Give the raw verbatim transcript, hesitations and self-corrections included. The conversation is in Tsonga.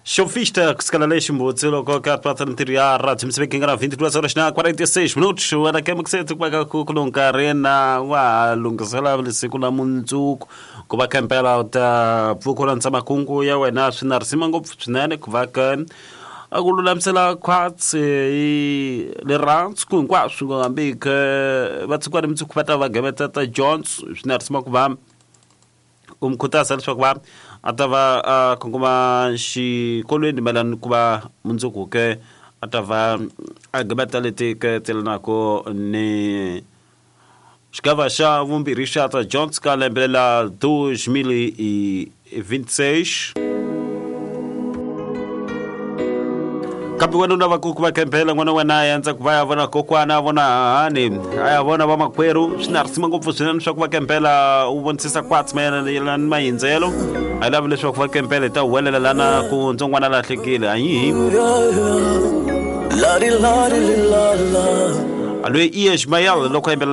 Shofista kusikala lexi mbutsi loko ka pata ntirho ya radio Moçambique nga na vinte e duas horas na quarenta e seis minutos wena ke muksetsi ku va ka ku nkarhi na wa lunghisela siku la mundzuku ku va kempela u ta pfuka landza makungu ya wena swi na risima ngopfu swinene ku va ka a ku lulamisela khwatsi hi rirhandzu ku hinkwaswo hambi ke va tshikiwa ni mundzuku va ta va geveta ta Jones swi na risima ku va u mi khutaza leswaku va a ta va a kongoma xikolweni mayelana ku va mundzuku ke a ta va a geveta leti ke telanako ni xigava xa vumbirhi xa ta Jones ka lembe la dois mil e vinte e seis. Kambe wena u lava ku va kempela n'wana wa wena a endza ku va ya vona kokwana a vona hahani a ya vona vamakwerhu swi na risima ngopfu swinene swa ku va kempela u vonisisa kwatsi mayelana ni mahindzelo a yi lavi leswaku va kempela hi ta huwelela lana ku ntsongwana lahlekile ayihi a loyi i Ismael loko a yimbelela.